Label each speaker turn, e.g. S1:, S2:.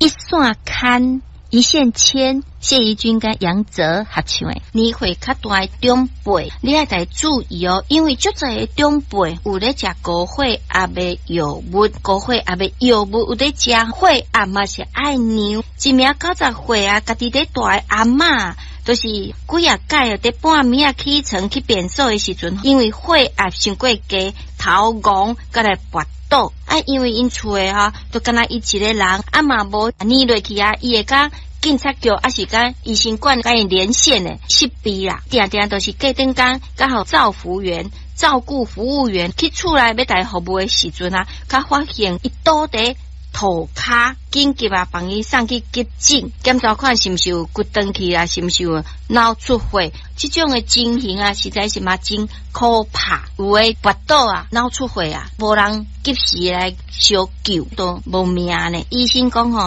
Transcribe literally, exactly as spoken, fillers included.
S1: 一線牽，一線牽，謝宜君佮楊澤合唱的。年歲較大的長輩，你愛著注意哦，因為足濟的長輩有咧食高血壓的藥物，高血壓的藥物有咧食，血壓嘛是愛量。一名九十歲啊，家己咧蹛的阿嬤，就是幾仔擺佇半暝仔起床去便所的時陣，因為血壓傷過低，頭戇，閣來跋倒。啊，因為𪜶厝的吼，就干焦伊一个人，啊嘛無暝落去啊，伊會佮警察局抑是佮醫生館佮𪜶連線的設備啦，定定都是隔轉工，佮予照服員、照顧服務員去厝內欲共伊服務的時陣啊，才發現伊倒佇塗跤，緊急啊，幫伊送去急診，檢查看是毋是有骨斷去啊，是毋是有腦出血？這種的情形啊，實在是嘛真可怕。有的跋倒啊，腦出血啊，無人及時來相救，都無命呢。醫生講吼。